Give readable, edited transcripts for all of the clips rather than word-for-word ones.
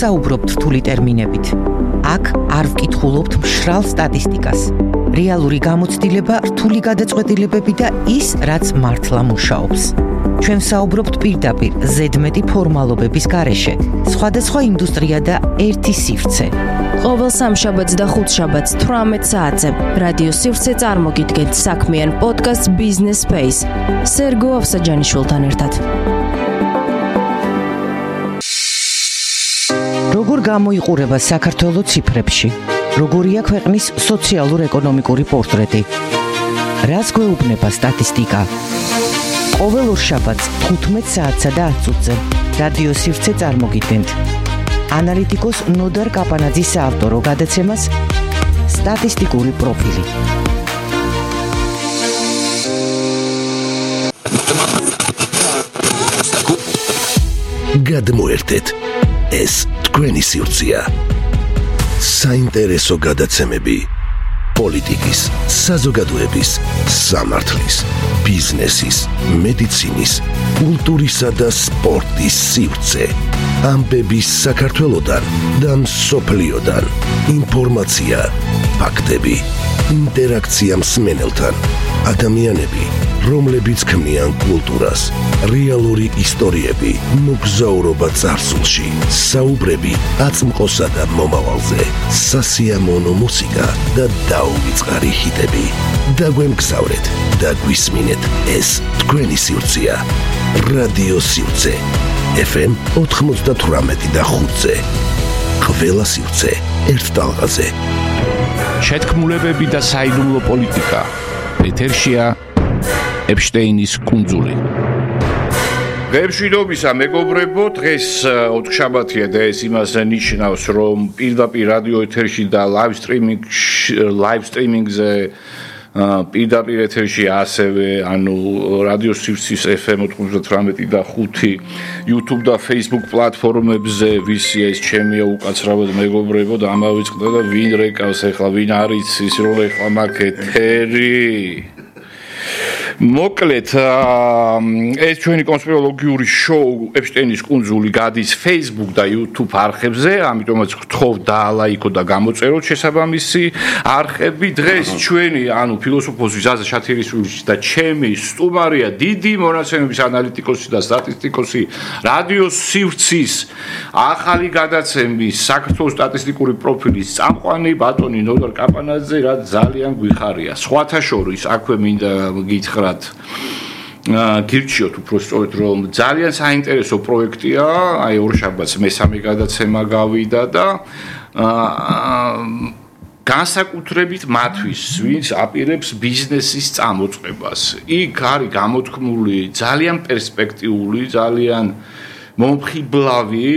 ვსაუბრობთ რთული ტერმინებით. აქ არ ვკითხულობთ მშრალ სტატისტიკას. რეალური გამოცდილება, რთული გადაწყვეტილებები და ის, რაც მართლა მუშაობს. ჩვენ ვსაუბრობთ პირდაპირ, ზედმეტი ფორმალობების გარეშე, სხვადასხვა ინდუსტრია და ერთი სივრცე. ყოველ სამშაბათს და ხუთშაბათს 18 საათზე რადიო სივრცე წარმოგიდგენთ საქმიან პოდკასტ Business Space სერგო ავსაჯანიშვილთან ერთად. როგორ გამოიყურება საქართველოს ციფრებში? როგორია ქვეყნის სოციალურ-ეკონომიკური პორტრეტი? რას გვეუბნება სტატისტიკა? ყოველ ორშაბათს 15 საათსა და 10 წუთზე რადიო სივრცე წარმოგიდგენთ. ანალიტიკოს ნოდარ კაპანაძის საავტორო გადაცემას სტატისტიკური პროფილი. გადმოერთეთ, ეს თქვენი სივრცეა. საინტერესო გადაცემები პოლიტიკის, საზოგადოების, სამართლის, ბიზნესის, მედიცინის, კულტურისა და სპორტის სივრცე. ამბების საქართველოდან და მსოფლიოდან. ინფორმაცია, ფაქტები, ინტერაქცია მსმენელთან. ადამიანები, რომლებიც ქმნიან კულტურას, რეალური ისტორიები, მოგზაურობა წარსულში, საუბრები აწმყოსა და მომავალზე, სასიამოვნო მუსიკა და დაუვიწყარი ჰიტები. დაგვემგზავრეთ და გვისმინეთ, ეს თქვენი სივრცეა. რადიო სივრცე FM 98 და 5-ზე. ყველა სივრცე ერთ ტალღაზე. შეთქმულებები და საიდუმლო პოლიტიკა. ეთერშია ეპშტეინის კუნძული. გემშვიდობისა მეგობრებო, დღეს ოთხშაბათია და ეს იმას ნიშნავს, რომ პირდაპირ რადიო ეთერში და ლაივ სტრიმინგზე პირდაპირ ეთერში ასევე რადიო სივრცის FM 98 და 5 YouTube და Facebook პლატფორმებზე ვისია ეს ჩემია უკაცრავად მეგობრებო და ამავიწყდა და ვინ რეკავს ახლა, ვინ არის ის რომ ახლა მაგ ეთერი. მოკლედ ეს ჩვენი კონსპიროლოგიური შოუ ეპშტეინის კუნძული გადის Facebook და YouTube არხებზე, ამიტომაც გთხოვ დაალაიქო და გამოწეროთ შესაბამისი არხები. დღეს ჩვენი ფილოსოფოსი ზაზა შათირისვილი და ჩემი სტუმარია დიდი მონაცემების ანალიტიკოსი და სტატისტიკოსი რადიო სივრცის ახალი გადაცემის საქართველოს სტატისტიკური პროფილის წამყვანი ბატონი ნოდარ კაპანაძე, რაც ძალიან გვიხარია. სხვათა შორის აქვე მინდა გითხრათ გირჩიოთ უბრალოდ რომ ძალიან საინტერესო პროექტია, აი ორშაბათს მესამე გადაცემა გავიდა და განსაკუთრებით მათთვის, ვინც აპირებს ბიზნესის წამოწყებას. იქ არის გამოთქმული ძალიან პერსპექტიული, ძალიან მომხიბლავი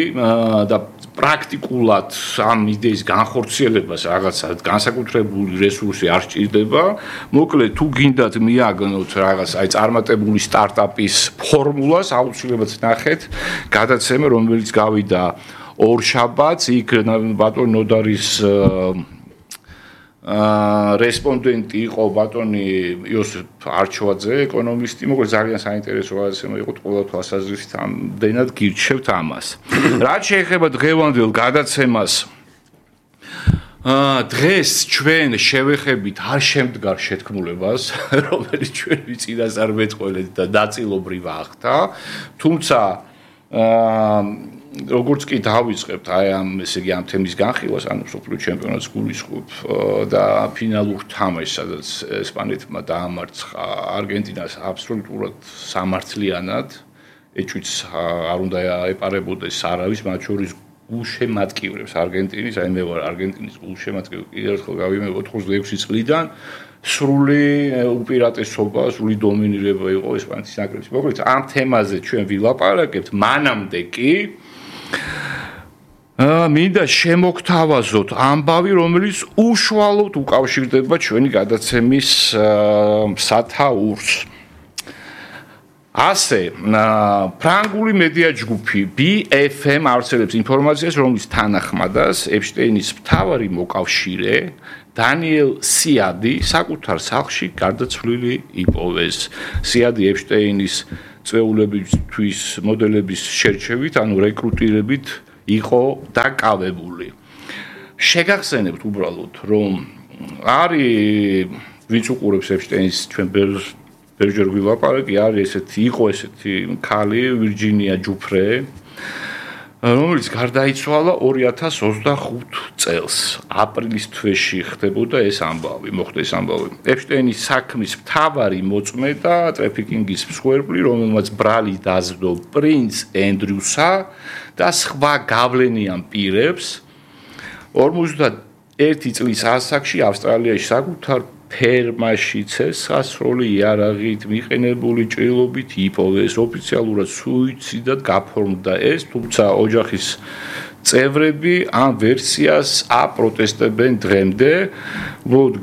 და პრაქტიკულად ამ იდეის განხორციელებას რაღაცა განსაკუთრებული რესურსი არ სჭირდება. მოკლედ თუ გინდათ მიაგნოთ რაღაც აი წარმატებული სტარტაპის ფორმულას, აუცილებლად ნახეთ გადაცემა, რომელიც გავიდა ორშაბათს, იქ ბატონ ნოდარის რესპონდენტი იყო ბატონი იოსებ არჩვაძე, ეკონომისტი, მოკლედ ძალიან საინტერესო გადაცემა იყო ყველა თვალსაზრისით, ამდენად გირჩევთ ამას. რაც შეეხება დღევანდელ გადაცემას, დღეს ჩვენ შევეხებით არ შემდგარ შეთქმულებას, რომელიც ჩვენი წინასწარმეტყველეთ და ნაწილობრივ ახდა, თუმცა როგორც კი დავიწყებთ აი ესე იგი ამ თემის განხილვას, სოფლიო ჩემპიონატს გულისხმობ და ფინალურ თამაშს, სადაც ესპანეთმა დაამარცხა არგენტინას აბსოლუტურად სამართლიანად, ეჭვიც არ უნდა ეპარებოდეს არავის, მათ შორის გულშემატკივრებს არგენტინის, აი მე ვარ არგენტინის გულშემატკივრი, კიდევ ერთხელ გავიმეორე 86 წლიდან სრული უპირატესობა, სრული დომინირება იყო ესპანეთის ნაკრების. მოკლედ ამ თემაზე ჩვენ ვილაპარაკებთ, მანამდე კი მინდა შემოგთავაზოთ ამბავი, რომელიც უშუალოდ უკავშირდება ჩვენი გადაცემის სათაურს. ასე, ფრანგული მედია ჯგუფი BFM ავრცელებს ინფორმაციას, რომლის თანახმადაც ეპშტეინის მთავარი მოკავშირე დანიელ სიადი საკუთარ სახლში გარდაცვლილი იპოვეს. სიადი ეპშტეინის წვეულებისთვის მოდელების შერჩევით, რეკრუტირებით იყო დაკავებული. შეგახსენებთ უბრალოდ, რომ არის ვინც უყურებს ეპშტეინის ჩვენ ბევრჯერ ვილაპარაკი, არის იყო ესეთი ქალი ვირჯინია ჯუფრე, რომელიც გარდაიცვალა 2025 წელს აპრილის თვეში ხდებოდა ეს ამბავი, მოხდა ეს ამბავი. ეპშტეინის საქმის მთავარი მოწმე და ტრაფიკინგის მსხვერპლი, რომელმაც ბრალი დაძდო პრინც ენდრიუსა და სხვა გავლენიან პირებს 51 წლის ასაკში ავსტრალიაში საკუთარ ფერმაში ცეცხლსასროლი იარაღით მიყენებული ჭრილობით იპოვეს. ოფიციალურად სუიციდად გაფორმდა ეს, თუმცა ოჯახის წევრები ამ ვერსიას აპროტესტებენ დღემდე.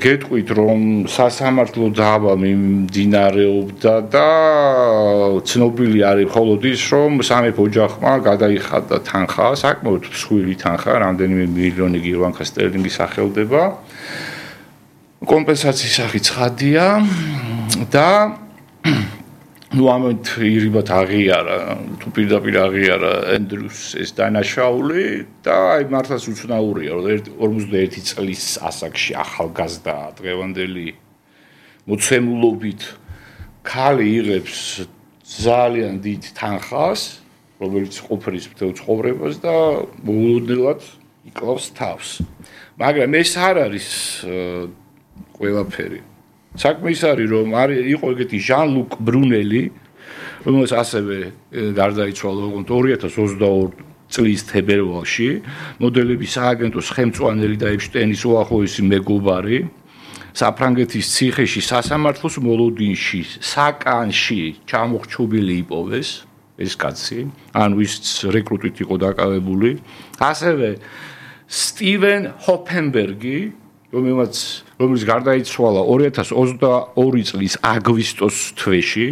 გეტყვით, რომ სასამართლო დავა მიმდინარეობდა და ცნობილი არის მხოლოდ ის, რომ სამეფო ოჯახმა გადაიხადა თანხა, საკმაოდ მსხვილი თანხა, რამდენიმე მილიონი გირვანკა სტერლინგის სახელდება. კომპენსაციის სახით ცხადია და ამით ირიბად აღიარა, თუ პირდაპირ აღიარა ენდრიუს ეს დანაშაული და აი მართლაც უცნაურია, რომ 51 წლის ასაკში ახალგაზრდა დღევანდელი მოცემულობით ქალი იღებს ძალიან დიდ თანხას, რომელიც ყოფრის მთელ ცხოვრებას და მოულოდნელად იკლავს თავს. მაგრამ ეს არ არის ყველაფერი. საქმე ის არის, რომ იყო ეგეთი ჟან-ლუკ ბრუნელი, რომელიც ასევე გარდაიცვალა 2022 წლის თებერვალში, მოდელების სააგენტოს ხელმძღვანელი და ეპშტეინის უახლოესი მეგობარი, საფრანგეთის ციხეში სასამართლოს მოლოდინში, საკანში ჩამოხრჩობილი იპოვეს ეს კაცი, ანუ ის რეკრუტით იყო დაკავებული, ასევე სტივენ ჰოფენბერგი, რომელიც გარდაიცვალა 2022 წლის აგვისტოს თვეში,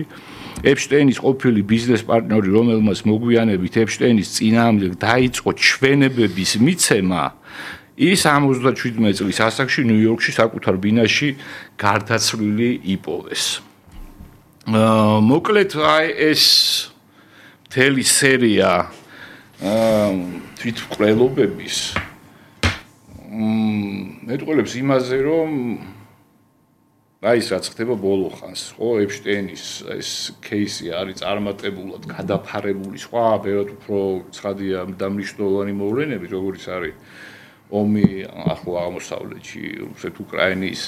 ეპშტეინის ყოფილი ბიზნეს პარტნიორი, რომელმაც მოგვიანებით ეპშტეინის წინააღმდეგ დაიწყო ჩვენებების მიცემა, ის 77 წლის ასაკში ნიუ-იორკში საკუთარ ბინაში გარდაცვლილი იპოვეს. მოკლედ აი ეს მთელი სერია თვითმკვლელობების მეტყველებს იმაზე, რომ აი ეს რაც ხდება ბოლო ხანს, ხო, ეპშტეინის ეს кейსი არის წარმატებულად გადაფარებული, სხვა ბევრად უფრო ცხადია და მნიშვნელოვანი მოვლენები, როგორც არის ომი ახლო აღმოსავლეთში, რუსეთ-უკრაინის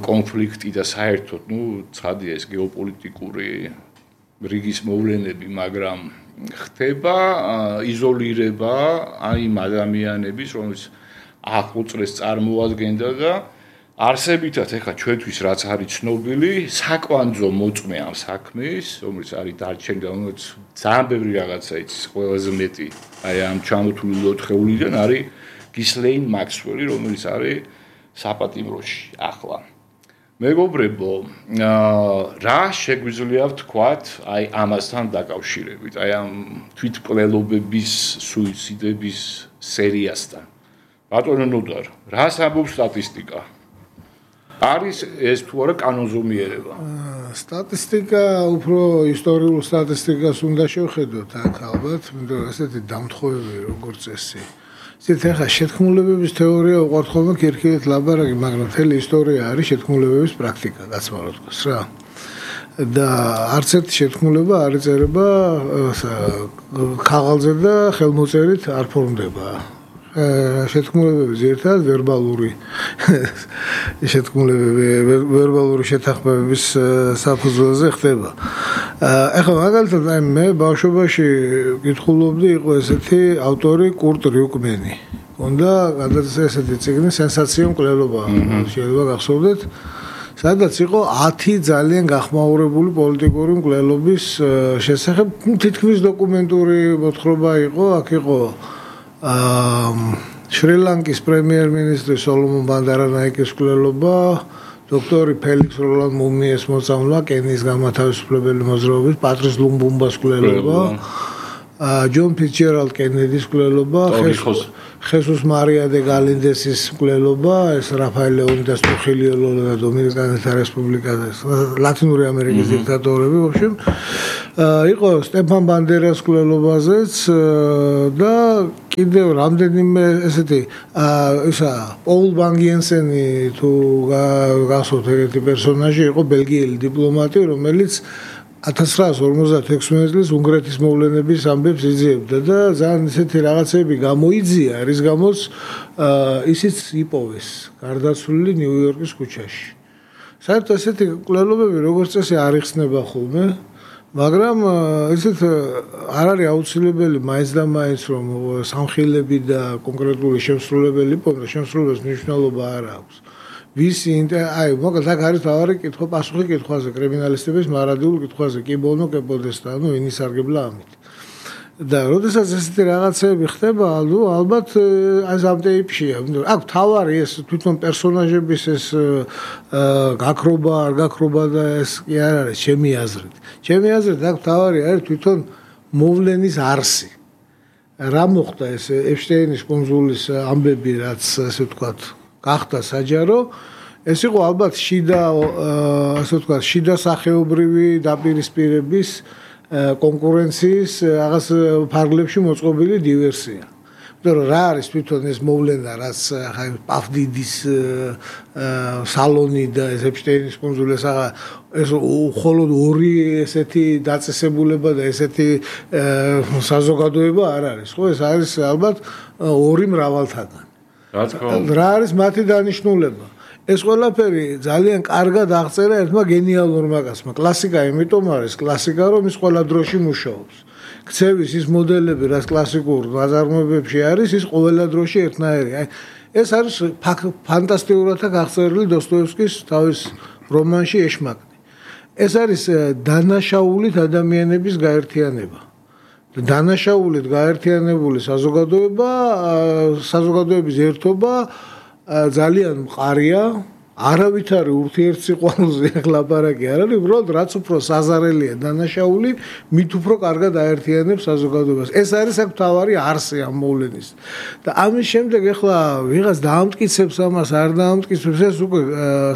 კონფლიქტი და საერთოდ, ცხადია ეს გეოპოლიტიკური რიგის მოვლენები, მაგრამ ხდება იზოლირება იმ ადამიანების, რომელიც ახლო წრეს წარმოადგენდა და არსებითად ეხლა ჩვენთვის რაც არის ცნობილი, საკვანძო მოწმე ამ საქმის, რომელიც არის დარჩენილი, რომელიც ძალიან ბევრი რაღაცა იცის, ყველაზე მეტი აი ამ ჩამოთვლილი 4-ეულიდან არის გისლეინ მაქსველი, რომელიც არის საპატიმროში ახლა. მეგობრებო, რა შეგვიძლია ვთქვათ აი ამასთან დაკავშირებით, აი ამ თვითმკვლელობების, სუიციდების სერიასთან. ბატონო ნოდარ, რას ამბობს სტატისტიკა? არის ეს თუ არა კანონზომიერება? სტატისტიკა უფრო ისტორიულ სტატისტიკას უნდა შევხედოთ აქ ალბათ, იმიტომ რომ ესეთი დამთხოვები როგორც წესი. ისეთ ახლა შეთქმულებების თეორია უყვართ ხოლმე ქირქილით ლაბარაკი, მაგრამ მთელი ისტორია არის შეთქმულებების პრაქტიკა, გაცმარო თქოს რა. და არც ერთი შეთქმულება არ იწერება ქაღალზე და ხელმოწერით არ ფორმდება. შეთქმულებები ზირთად ვერბალური შეთქმულებები ვერბალური შეთანხმებების საფუძველზე ხდება. ახლა მაგალითად მე ბავშვობაში კითხულობდი, იყო ესეთი ავტორი კურტ რიუკმენი. უნდა გადაწერა ესეთი წიგნი სენსაციო მკვლელობა, შეიძლება გახსოვდეთ, სადაც იყო 10 ძალიან გახმაურებული პოლიტიკური მკვლელობის შესახებ თითქმის დოკუმენტური მოთხრობა იყო, აქ იყო შრი-ლანკის პრემიერ-მინისტრი სოლომონ ბანდარანაიკის მკვლელობა, დოქტორი ფელიქს როლან მუმიეს მოწამვლა, კენიის განმათავისუფლებელი მოძრაობის პატრის ლუმბუმბას მკვლელობა ჯონ ფიცჯერალდ კენედის მკვლელობა, ხესუს მარია დე გალინდესის მკვლელობა, ეს რაფაელ ლეონიდას ტრუხილიო ლოლა და დომინიკანელთა რესპუბლიკა და ლათინური ამერიკის დიქტატორები, ვაფშემ იყო სტეფან ბანდერას მკვლელობაზეც და კიდევ რამდენიმე ესეთი ისა პოლ ბანგიენსენი თუ გასვოთ ეგეთი პერსონაჟი იყო ბელგიელი დიპლომატი, რომელიც 1956 წლის უნგრეთის მოვლენების ამბებს იძიებდა და ძალიან ისეთი რაღაცები გამოიძია, რის გამოც ისიც იპოვეს გარდაცვლილი ნიუ-იორკის ქუჩაში. საერთოდ ესეთი მკვლელობები როგორც წესი არ იხსნება ხოლმე, მაგრამ ისეთ არ არის აუცილებელი მაინც და მაინც რომ სამხილები და კონკრეტული შემსრულებელი იპოვოს, შემსრულებლის მნიშვნელობა არ აქვს. ვისი აი მოკლედ აქ არის თავარი კითხვა პასუხი კითხვაზე კრიმინალისტების მარადიულ კითხვაზე კი ბონო კეპოდესტა ნუ ინისარგებლა ამით და როდესაც ესეთი რაღაცები ხდება ალბათ აი ამ ტიპშია აქ თავარი ეს თვითონ პერსონაჟების ეს გაქრობა არ გაქრობა და ეს კი არ არის ჩემი აზრით აქ თავარი არის თვითონ მოვლენის არსი რა მოხდა ეს ეპშტეინის კონსულის ამბები რაც ასე ვთქვათ გახდა საჯარო ეს იყო ალბათ ასე ვთქვათ შიდა სახეობრივი დაპირისპირების კონკურენციის რაღაც ფარგლებში მოწყობილი დივერსია. იმიტომ რომ რა არის თვითონ ეს მოვლენა რაც პავდიდის სალონი და ეს ეპშტეინის კონსული ეს მხოლოდ ორი ესეთი დაწესებულება და ესეთი საზოგადოება არ არის ხო ეს არის ალბათ ორი მრავალთაგანი რა არის მათი დანიშნულება ეს ყველაფერი ძალიან კარგად აღწერა ერთმა გენიალურმა კაცმა კლასიკა იმიტომ არის კლასიკა რომ ის ყველა დროში მუშაობს ქცევის ის მოდელები რაც კლასიკურ ნაწარმოებებში არის ის ყველა დროში ერთნაირი აი ეს არის ფანტასტიკურად აღწერილი დოსტოევსკის თავის რომანში ეშმაკნი ეს არის დანაშაულით ადამიანების გაერთიანება დანაშაულით გაერთიანებული საზოგადოების ერთობა ძალიან მყარია არავითარი ურთიერთსიყვარულზე ლაპარაკი არ არის უბრალოდ რაც უფრო საზარელია დანაშაული მით უფრო კარგად აერთიანებს საზოგადოებას ეს არის აქ მთავარი არსი ამ მოვლენის და ამის შემდეგ ახლა ვიღაც დაამტკიცებს ამას არ დაამტკიცებს ეს უკვე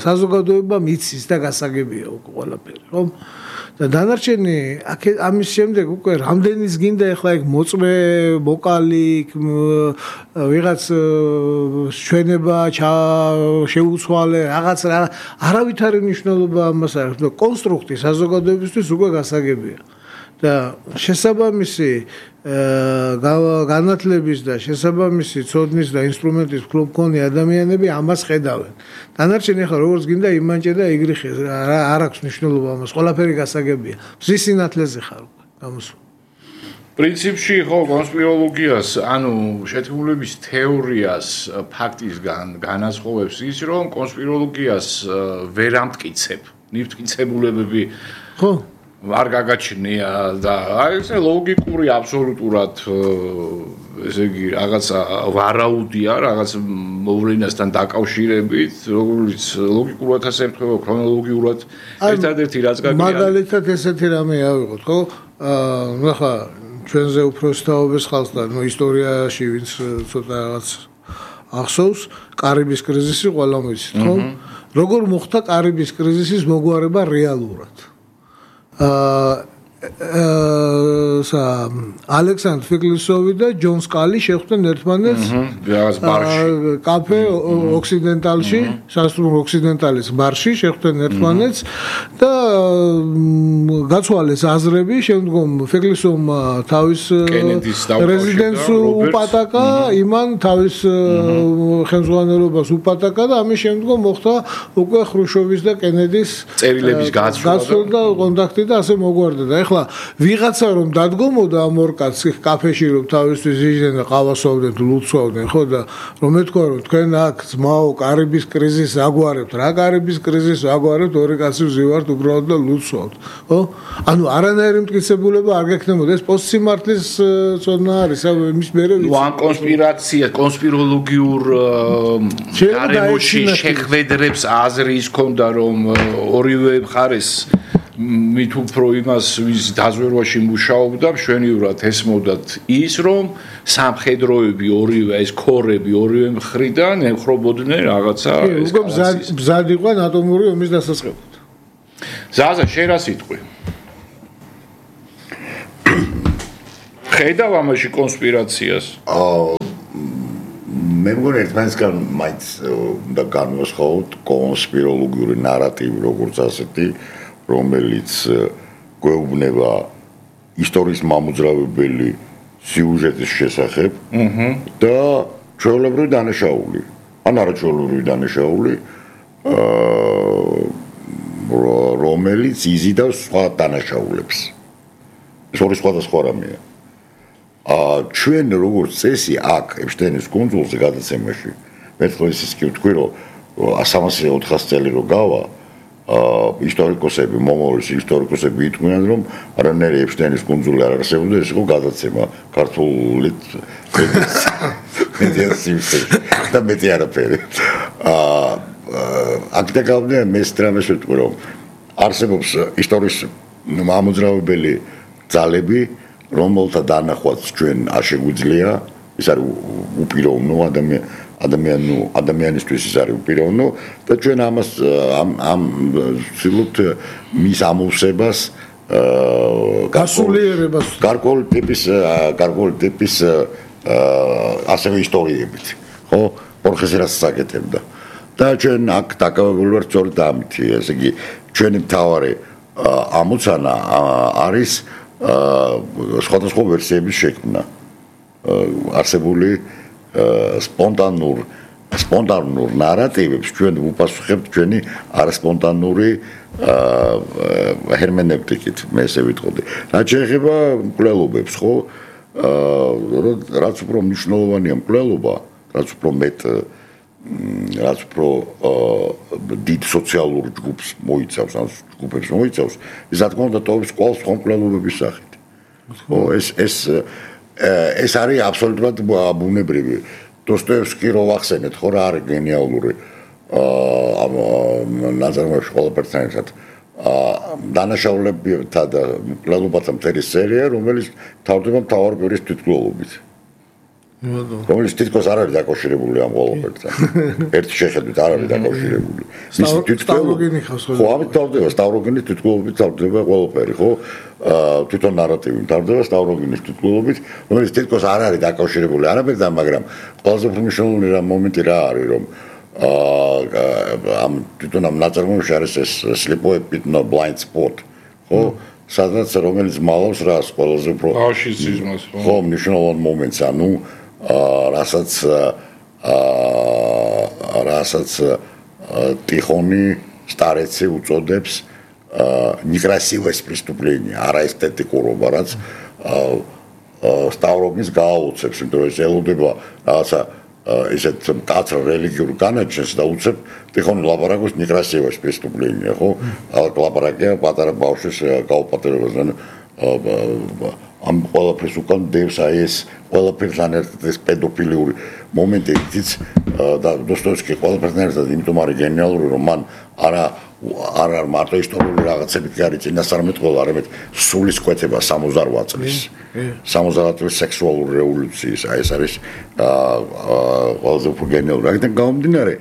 საზოგადოება მიცის და გასაგებია უკვე ყველაფერი ხო და დანარჩენი ამის შემდეგ უკვე რამდენის გინდა ახლა ეგ მოწმე ვოკალი ვიღაც ჩვენება შეუცვალე რაღაც არავითარი მნიშვნელობა ამას არ აქვს კონსტრუქტი საზოგადოებისთვის უკვე გასაგებია და შესაბამისი განათლების და შესაბამისი ცოდნის და ინსტრუმენტის მქონე ადამიანები ამას ხედავენ. დანარჩენი ახლა როგორც გინდა იმანჭე და იგრიხე არ აქვს მნიშვნელობა ამას. ყველაფერი გასაგებია. მზის სინათლეზე ხარ გამოსულ. პრინციპში ხო კონსპიროლოგიას, ანუ შეთქმულების თეორიას ფაქტისგან განასხვავებს ის, რომ კონსპიროლოგიას ვერ ამტკიცებ. ნივთმტკიცებულებები ხო არ გაგაჩნია და აი ეს ლოგიკური აბსოლუტურად ესე იგი რაღაცა ვარაუდია რაღაც მოვლენასთან დაკავშირებით როგორც ლოგიკურად ასე ემთხვევა ქრონოლოგიურად ერთადერთი რაც გაგია მაგალითად ესეთი რამე ავიღოთ ხო ნახა ჩვენზე უფრო სწავლებს ხალხს და ისტორიაში ვინც ცოტა რაღაც ახსოვს კარიბის კრიზისი ყველამ ვიცით ხო როგორ მოხდა კარიბის კრიზისის მოგვარება რეალურად ალექსანდრ ფეკლისოვი და ჯონ სკალი შეხვდნენ ერთმანეთს კაფე ოქსიდენტალში, სასტუმრო ოქსიდენტალის ბარში შეხვდნენ ერთმანეთს და გაცვალეს აზრები, შემდგომ ფეკლისოვმა თავის რეზიდენტს უპატაკა, იმან თავის ხელმძღვანელობას უპატაკა და ამის შემდგომ მოხდა უკვე ხრუშოვის და კენედის წერილების გაცვლა და კონტაქტი და ასე მოგვარდა და ახლა ვიღაცა რომ დადგომოდა ამ ორ კაცს კაფეში რომ თავისთვის იჯდნენ და ყავასვავდნენ ლუცვავდნენ ხო და რომ ეთქვა რომ თქვენ აქ ძმაო კარიბის კრიზისს აგვარებთ რა კარიბის კრიზისს აგვარებთ ორი კაცი ვზივართ უბრალოდ და ლუცვავთ ხო ანუ არანაირი მტკიცებულება არ გექნებოდა ეს პოსტსიმართლის ცოდნა არის იმის მერე ვიცი ამ კონსპირაცია კონსპიროლოგიურ გარემოში შეხვედრებს აზრი ის ქონდა რომ ორივე მხარეს მით უფრო იმას ვის დაზვერვაში მუშაობდა მშვენივრად ესმოდათ ის რომ სამხედროები ორივე ეს ქორები ორივე მხრიდან ემხრობოდნენ რაღაცა ეს მზად იყვნენ ატომური ომის დასაწყებად. ზაზა შენ რა სიტყვი? ხედავ ამაში კონსპირაციას? მე მგონი ერთმანეთსგან მაინც უნდა განვასხვაოთ კონსპიროლოგიური ნარატივი როგორც ასეთი რომელიც გვეუბნება ისტორიის მამოძრავებელი სიუჟეტის შესახებ და ჩვეულებრივი დანაშაული ან არაჩვეულებრივი დანაშაული რომელიც იზიდავს სხვა დანაშაულებს ეს ორი სხვადასხვა რამეა ჩვენ როგორც წესი აქ ეპშტეინის კუნძულზე გადაცემაში მე თქოს კი ვთქვი რომ 300-400 წელი რო გავა ისტორიკოსები მომავლის ისტორიკოსები იტყვიან რომ არანაირი ეპშტეინის კუნძული არ არსებობდა ეს იყო გადაცემა ქართული და მეტი არაფერი აქ და გავდე მე სტრამეს ვიტყვი რომ არსებობს ისტორიის მამოძრავებელი ძალები რომელთა დანახვაც ჩვენ არ შეგვიძლია ეს არის უპიროვნო ადამიანისთვის ის არის უპიროვნო და ჩვენ ამას ამ ვცდილობთ მის ამოვსებას გასულიერებას გარკვეული ტიპის ასევე ისტორიებით ხო ორხეს რაც საკეთებდა და ჩვენ აქ დაკავებული ვართ სწორედ ამით ესე იგი ჩვენი მთავარი ამოცანა არის სხვადასხვა ვერსიების შექმნა არსებული სპონტანურ ნარატივებს ჩვენ ვუპასუხებთ ჩვენი არასპონტანური ჰერმენევტიკით მე ესე ვიტყოდი რაც შეეხება მკვლელობებს ხო რაც უფრო მნიშვნელოვანია მკვლელობა რაც უფრო მეტ რაც უფრო დიდ სოციალურ ჯგუფს მოიცავს ან ჯგუფებს მოიცავს ის რა თქმა უნდა ტოვებს კვალს სხვა მკვლელობების სახით ხო ეს არის აბსოლუტურად ბუნებრივი დოსტოევსკი რო ვახსენეთ ხო რა არის გენიალური ამ ნაზარმოებში ყველაფერთან ერთად დანაშაულებთა და მკვლელობათა მთელი სერია რომელიც თავდება მთავარ პირის თვითმკვლელობით რომელიც თითქოს არ არის დაკავშირებული ამ ყველაფერთან ერთი შეხედვით არ არის დაკავშირებული სტავროგენი ხავს ხო ამით თავდება სტავროგენის თვითმკვლელობით თავდება ყველაფერი ხო თვითონ ნარატივი თავდება სტავროგენის თვითმკვლელობით რომელიც თითქოს არ არის დაკავშირებული არაფერთან მაგრამ ყველაზე უფრო მნიშვნელოვანი მომენტი რა არის რომ ამ თვითონ ამ ნაწარმოებში არის ეს sleepaway no blind spot ხო სადაც რომელიც მალავს რას ყველაზე უფრო ფაშიზმს ხო მნიშვნელოვან მომენტს ანუ რასაც ტიხონი სტარეცი უწოდებს некрасивое преступление არაესთეტიკურობა რაც სტავროგინს გააუცებს იმიტომ რომ ეს ელოდება რაღაცა ისეთ კაცრ რელიგიურ განაჩენს და უცებ ტიხონი ლაპარაკობს некрасивое преступление ხო ლაპარაკია პატარა ბავშვის გაუპატერებასთან ამ ყველაფერს უკან დევს აი ეს ყველაფერთან ერთად ეს პედოფილიური მომენტებიც და დოსტოევსკი ყველაფერთან ერთად იმიტომ არის გენიალური რომ მან არ მარტო ისტორიული რაღაცები კი არის წინასწარმეტყველა არამედ სულისკვეთება 68 წლის 70 წლის სექსუალური რევოლუციის აი ეს არის ყველაზე უფრო გენიალური აქედან გამომდინარე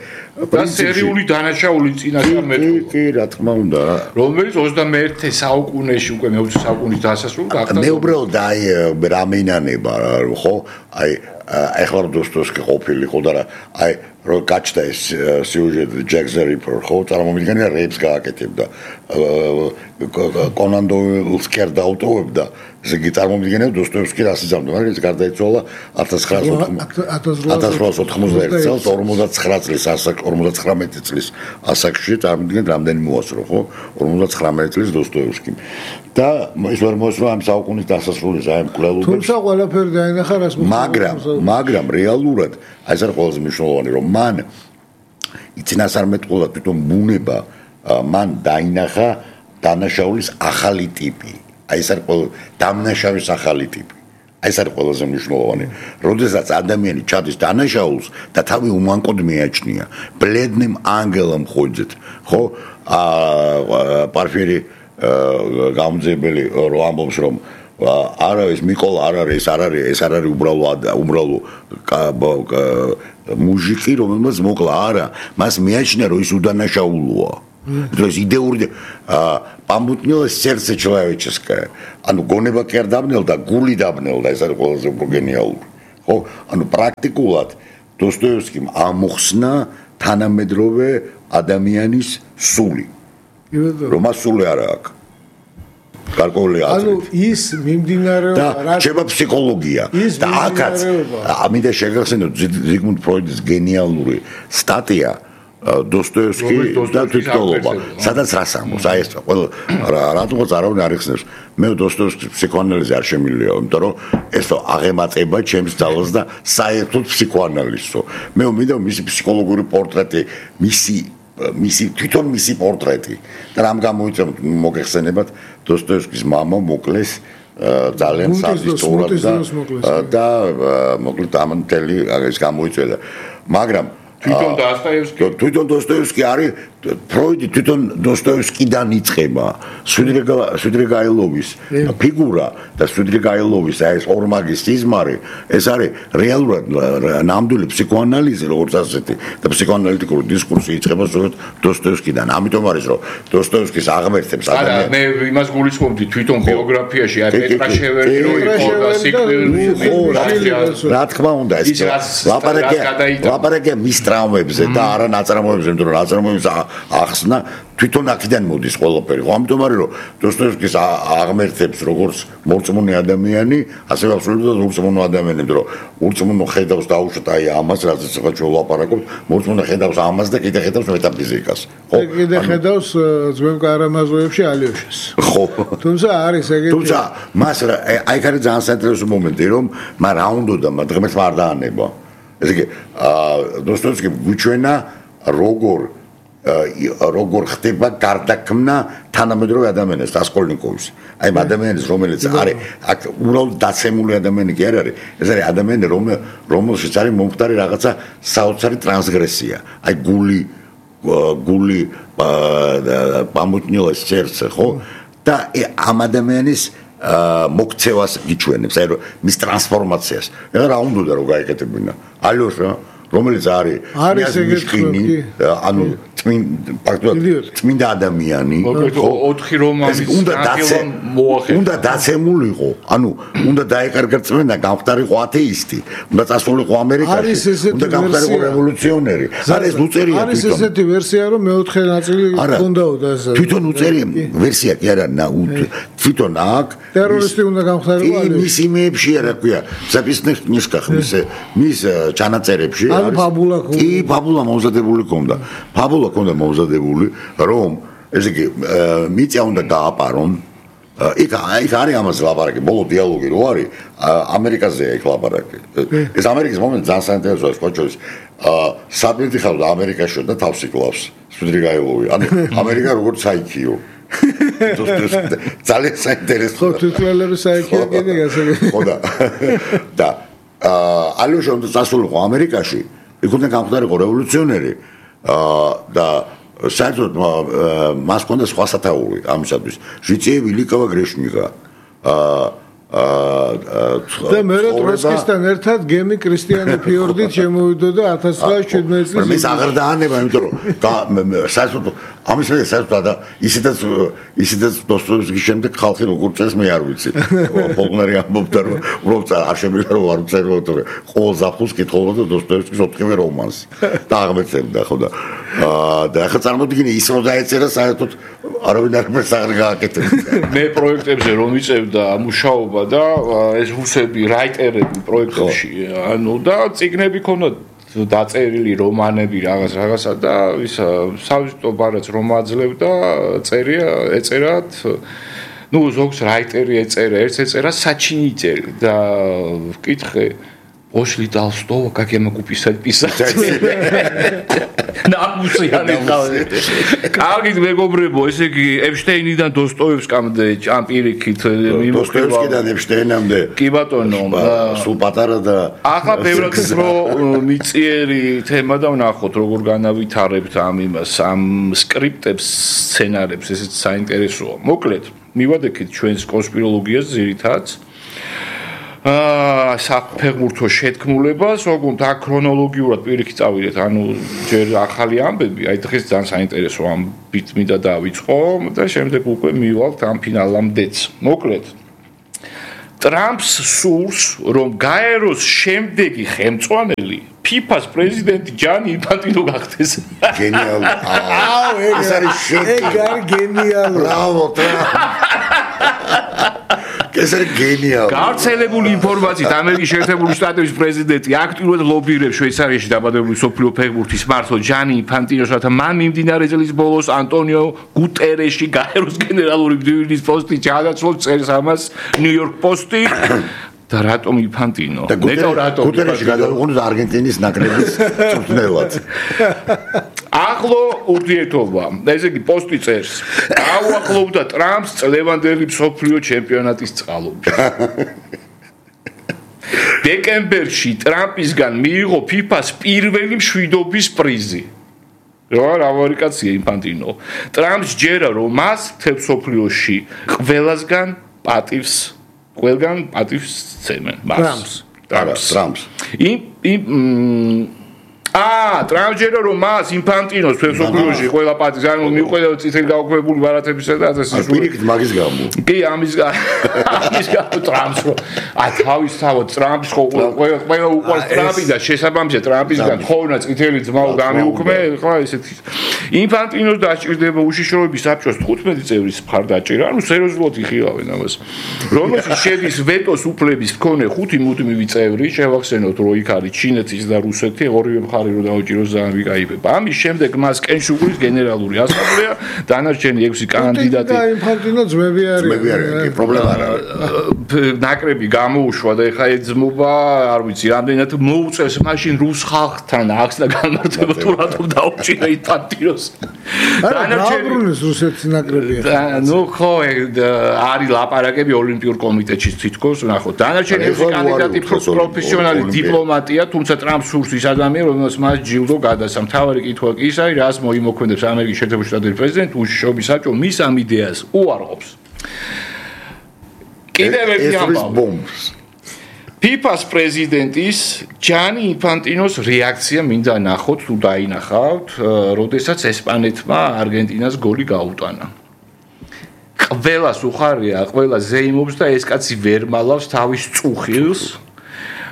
და სერიული დანაშაული წინასწარმეტყველა კი რა თქმა უნდა რომელიც 21 საუკუნეში უკვე მე-20 საუკუნის დასასრულ გახდა მე უბრალოდ აი რამეინანება ხო აი ახლა დოსტოევსკი ყოფილი ხო და აი რო გაჩნდა ეს სიუჟეტი ჯეკ ზე რიპერ ხო წარმომიდგენია რეიპს გააკეთებდა კონან დოილს კერდა აუტოვებდა ესე იგი წარმომიდგენია დოსტოევსკი რას იზამდა მაგრამ ეს გარდაიცვალა 1891 წელს 59 წლის 59 წლის ასაკში წარმოგიდგენთ რამდენი მოასწრო ხო 59 წლის დოსტოევსკიმ და ის ვერ მოასწრო ამ საუკუნის დასასრულის აი მკვლელობებს თუმცა ყველაფერი დაინახა რას მაგრამ რეალურად აი ეს არის ყველაზე მნიშვნელოვანი რომ მან იცინასარმეტყველად თვითონ ბუნება მან დაინახა დანაშაულის ახალი ტიპი აი ეს არის დამნაშავის ახალი ტიპი აი ეს არის ყველაზე მნიშვნელოვანი როდესაც ადამიანი ჩადის დანაშაულს და თავი უმანკოდ მიაჩნია ბლედნემ ანგელამ ხოძეთ ხო პარფირი გამძებელი რო ამბობს რომ არა ეს მიკოლა არ არის ეს არ არის უბრალო მუჟიკი რომელმაც მოკლა არა მას მიაჩნია რომ ის უდანაშაულოა то есть идеური памутнилось сердце человеческое ანუ გონება კი არ დაბნელდა გული დაბნელდა ეს არის ყველაზე გენიალური ხო ანუ პრაქტიკულად დოსტოევსკიმ ამოხსნა თანამედროვე ადამიანის სული რომ ასული არა აქვს გარკვეული აზრით. ანუ ის მიმდინარეობა და შეება ფსიქოლოგია და აქაც ამინდა შეგახსენოთ ზიგმუნდ ფროიდის გენიალური სტატია დოსტოევსკი და თვითმკვლელობა სადაც რას ამბობს აი ეს ყველა რატომაც არავინ არ იხსენებს მე დოსტოევსკის ფსიქოანალიზი არ შემიძლია იმიტომ რომ ესო აღემატება ჩემს ძალას და საერთოდ ფსიქოანალიზო მე მინდა მისი ფსიქოლოგიური პორტრეტი მისი თვითონ მისი პორტრეტი და რამ გამოიწევთ მოგეხსენებათ დოსტოევსკის მამა მოკლეს ძალიან სადისტურად და მოკლედ ამანტელი ეს გამოიწელა მაგრამ თვითონ დოსტოევსკი არის ფროიდი თვითონ დოსტოევსკიდან იწყება სვიდრიგაილოვის ფიგურა და სვიდრიგაილოვის ეს ორმაგის სიზმარი ეს არის რეალურად ნამდვილი ფსიქოანალიზი როგორც ასეთი და ფსიქოანალიტიკური დისკურსი იწყება სწორედ დოსტოევსკიდან ამიტომ არის რომ დოსტოევსკის აღმერთებს ადამიანს მე იმას გულისხმობდი თვითონ ბიოგრაფიაში აი პეტრაშეველი რო იყო და სიკვდილი რა თქმა უნდა ეს ლაპარაკია მის ტრამვებზე და არა ნაწარმოებზე იმიტომ რომ ნაწარმოების ახსნა თვითონ აქედან მოდის ყველაფერი. ხო ამიტომ არის რომ დოსტოევსკის აღმერთებს როგორც მორწმუნე ადამიანი, ასევე აბსოლუტურად ურწმუნო ადამიანი, იმიტომ რომ ურწმუნო ხედავს დაუშვათ აი ამას, რასაც ახლა ჩვენ ვლაპარაკობთ, მორწმუნე ხედავს ამას და კიდე ხედავს მეტაფიზიკას. ხო, კიდე ხედავს ძველ კარამაზოებში ალიოშას. ხო. თუმცა არის ეგეთი. თუმცა მას აი ხარ ძალიან საინტერესო მომენტი რომ მან რა უნდა ღმერთმა არ დაანება. ესე იგი დოსტოევსკი გვიჩვენა როგორ ხდება გარდაქმნა თანამედროვე ადამიანის რასკოლნიკოვის. აი ადამიანის რომელიც არის აქ უბრალოდ დაცემული ადამიანი კი არ არის. ეს არის ადამიანი რომელშიც არის მომხდარი რაღაცა საოცარი ტრანსგრესია. აი გული პამუტნილა სერცე ხო? და ამ ადამიანის მოგცევას გიჩვენებს, აი მის ტრანსფორმაციას. ეხლა რა უნდა რომ გაეკეთებინა? ალიოშა რომელიც არის ეგეთი ანუ წმინდა ადამიანი ოთხი რომანის უნდა დაცემულიყო ანუ უნდა დაეკარგა წმენდა გამხდარიყო ათეისტი უნდა წასულიყო ამერიკაში უნდა გამხდარიყო რევოლუციონერი არის უწერია არის ესეთი ვერსია რომ მეოთხე ნაწილი ჰქონდაოდა ეს თვითონ უწერია ვერსია კი არა თვითონ აქ ტერორისტი უნდა გამხდარიყო მის იმეებში არა ქვია ზაპისნიხ მის ჩანაწერებში ფაბულა კი ფაბულა მომზადებული ქონდა ფაბულა ქონდა მომზადებული რომ ესე იგი მიწა უნდა გააპარონ იქ არის ამას ლაპარაკი ბოლო დიალოგი რო არის ამერიკაზეა იქ ლაპარაკი ეს ამერიკის მომენტ ძალიან საინტერესოა სპეციალისტ საბედი ხალხი ამერიკაში და თავს იკლავს სვიდრიგაილოვი ანუ ამერიკა როგორც საიქიო ძალიან საინტერესოა ხო თვითმფრინავი საიქიო კიდე გასაგები ხო და ალიოშა უნდა წასულიყო ამერიკაში იქ უნდა გამხდარიყო რევოლუციონერი და საერთოდ მას ჰქონდა სხვა სათაური ამისათვის ჟიციე ვილიკავა გრეშნიკა და მე ტროცკისთან ერთად გემი კრისტიანე ფიორდით შემოვიდოდა 1917 წელს. მე აღარ დაანება, იმიტომ რომ საერთოდ ამის მე საერთოდ და ისედაც დოსტოევსკის შემდეგ ხალხი როგორ წეს მე არ ვიცი. პოლნარი ამბობდა რომ უბრალოდ არ შემიძლია რომ არ წეროთ რომ ყოველ ზაფხულს კითხულობდა დოსტოევსკის 4-ვე რომანს და აღმერთებდა ხო და ახლა წარმოვიდგინე ის რომ დაეწერა საერთოდ არავინ არ გააკეთებია. მე პროექტებზე რომ ვიწევდა მუშაობა და ეს რუსები რაიტერები პროექტებში ანუ და ციგნები ქონდა დაწერილი რომანები რაღაცა და ის სავიზიტო ბარაც რომ აძლევდა ეწერათ ზოგს რაიტერი ეწერა ერთს ეწერა საჩინი წერა და ვკითხე Пошли Толстого, как я могу писать писатель. ნამუსიანი ხავე. კარგით მეგობრებო, ესე იგი ეპშტეინიდან დოსტოევსკამდე ჭამპირიქით დოსტოევსკიდან ეპშტეინამდე. კი ბატონო, სულ პატარა და ახლა ბევრად მიწიერი თემა და ვნახოთ როგორ განავითარებთ ამ სკრიპტებს, სცენარებს, ესეც საინტერესოა. მოკლედ, მივადექით ჩვენს კონსპიროლოგიას ძირითადად. საფეხბურთო შეთქმულებას, ოღონდ აქ ქრონოლოგიურად პირიქით წავიდეთ, ანუ ჯერ ახალი ამბები, აი დღეს ძალიან საინტერესო ამბით მინდა დავიწყო და შემდეგ უკვე მივალთ ამ ფინალამდეც. მოკლედ, ტრამპს სურს, რომ გაეროს შემდეგი ხელმძღვანელი FIFA-ს პრეზიდენტი ჯანი ინფანტინო გახდეს. გენიალური. ეს არის გენიალური. ბრავო, ეს არის გენიალური. გავრცელებული ინფორმაციით ამერიკის შეერთებული შტატების პრეზიდენტი აქტიურად ლობირებს შვეიცარიაში დაბადებული მსოფლიო ფეხბურთის მმართველ ჯანი ინფანტინოს, რათა მან მიმდინარე წლის ბოლოს ანტონიო გუტერეში გაეროს გენერალური მდივნის პოსტი ჩაანაცვლოს, წერს ამას ნიუ-იორკ პოსტი. და რატომ ინფანტინო? ნეტო რატომ? გუტერეში გადავიყვანოთ არგენტინის ნაკრების წვრთნელად. ახლო ურთიერთობა. ესე იგი პოსტი წერს. გაუახლოვდა ტრამპს წლევანდელი მსოფლიო ჩემპიონატის წყალობით. დეკემბერში ტრამპისგან მიიღო FIFA-ს პირველი მშვიდობის პრიზი. რა ვარიკაცია ინფანტინო. ტრამპს ჯერა რომ მას მთელ მსოფლიოში ყველგან პატივს ცემენ. ტრამპს. ტრამპს ჯერა რომ მას ინფანტინოს მთელ მსოფლიოში ყველა პატივს, ანუ მიუხედავად წითელი გაუქმებული ბარათებისა და ასე პირიქით მაგის გამო. კი, ამის გამო ტრამპს რო თავისთავად ტრამპს ხო ყველა უყვარს ტრამპი და შესაბამისად ტრამპისგან ხოვნა წითელი ძმაო გამიუქმე, ხო ესეთი. ინფანტინოს დაჭირდება უშიშროების საბჭოს 15 წევრის მხარდაჭერა, ანუ სერიოზულად იხილავენ ამას. რომელშიც შედის ვეტოს უფლების მქონე 5 მუდმივი წევრი, შევახსენოთ რო იქ არის ჩინეთის და რუსეთი, ორივე მხარე რო დაუჭიროს ძალიან ვიკაიფება. ამის შემდეგ მას კენშუგურის გენერალური ასამბლეა, დანარჩენი 6 კანდიდატი. და ინფანტინო ძმები არის. პრობლემა არა. ნაკრები გამოუშვა და ეხა ეძმობა, არ ვიცი, რამდენად მოუწევს მაშინ რუს ხალხთან აქს და განმარტება თუ რატომ დაუჭირა ინფანტინოს. დანარჩენი რუსეთის ნაკრები ახლა. ნუ ხო, არის ლაპარაკები ოლიმპიურ კომიტეტში თითქოს, ნახოთ. დანარჩენი 6 კანდიდატი პროფესიონალი დიპლომატია, თუმცა ტრამპს სურს ის ადამიანი, რომელსაც მას ჯილდო გადასცა. მთავარი კითხვა კი ის არის, რას მოიმოქმედებს ამერიკის შეერთებული შტატების პრეზიდენტი უშიშროების საბჭო მის ამ იდეას უარყოფს. კიდევ ერთი ამბავი. FIFA-ს პრეზიდენტის ჯანი ინფანტინოს რეაქცია მინდა ნახოთ თუ დაინახავთ, როდესაც ესპანეთმა არგენტინას გოლი გაუტანა. ყველას უხარია, ყველა ზეიმობს და ეს კაცი ვერ მალავს თავის წუხილს.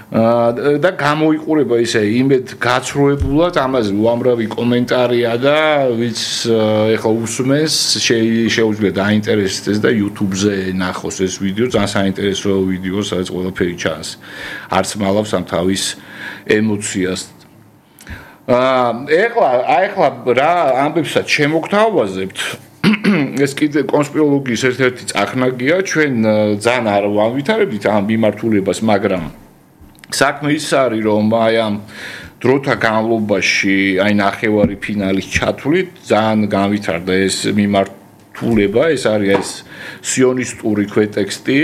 და გამოიყურება ისე იმედ გაცრუებულად, ამაზე უამრავი კომენტარია და ვიც ეხლა უსმენს, შეუძლია დაინტერესდეს და YouTube-ზე ნახოს ეს ვიდეო, ძალიან საინტერესო ვიდეო, სადაც ყველაფერი ჩანს. არც მალავს ამ თავის ემოციას. ეხლა რა ამბებსაც შემოგთავაზებთ? ეს კიდე კონსპიროლოგიის ერთ-ერთი წახნაგია, ჩვენ ძალიან არ ვანვითარებთ ამ მიმართულებას, მაგრამ საქმე ის არის, რომ აი ამ დროთა განმავლობაში, აი ნახევარი ფინალის ჩათვლით, ძალიან განვითარდა ეს მიმართულება, ეს არის ეს სიონისტური ქვეტექსტი